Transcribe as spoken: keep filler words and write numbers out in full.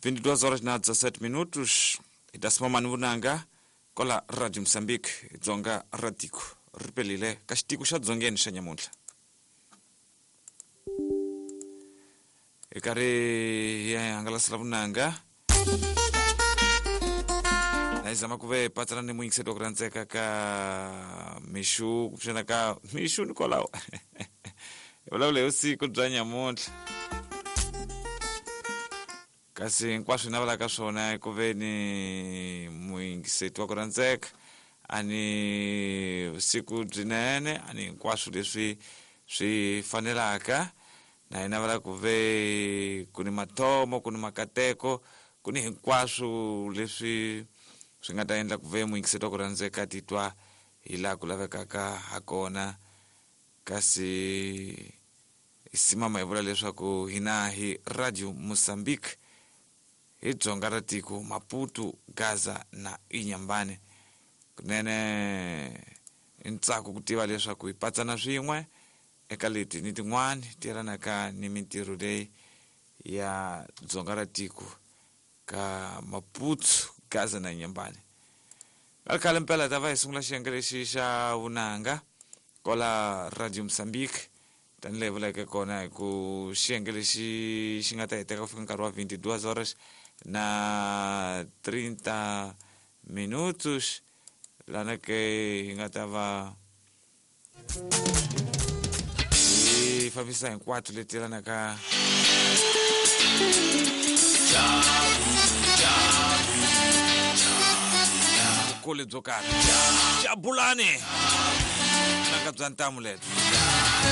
vinte e duas horas na dezessete minutos hi ta simama ni vunanga kola Radio Mozambique Dzonga ra tiko ri pelile ka xitiko xa dzongeni xa nyamuntlha hi karhi hi hangalasela vunanga na hi zama ku ve patsana ni muyingiseri wa ku rhandzeka ka mixu kumbexana ka mixu ni kwalaho hi vulavula hi vusiku bya nyamuntlha kasi hinkwaswo hi navelaka swona hi ku ve ni muyingiseti wa ku rhandzeka a ni vusiku byinene a ni hinkwaswo leswi swi fanelaka na hi navela ku ve ku ni mathomo ku ni makateko ku ni hinkwaswo leswi swi nga ta endla ku ve muyingiseti wa ku rhandzeka titwa hi laha ku lavekaka ha kona kasi hi simama hi vula leswaku hina hi Radio Mozambique hi Dzonga ra tiko Maputo Gaza na Inhambane kunene i ntsako ku tiva leswaku hi patsana swin'we eka leti ni tin'wani ti yelanaka ni mintirho leyi ya Dzonga ra tiko ka Maputo Gaza na Inhambane nga khale mpela ta va hi sungula xiyenge lexi xa vunanga kola Radio Mozambique tanihi leyi vuleke kona hi ku xiyenge lexi xi nga ta heteka ku fika nkarhi wa vinte e duas horas na trinta minutos lana ke hi nga ta va hi fambisa hinkwato leti yelanaka vukulu byo karhi jabulani nanga bya ntamu lebyi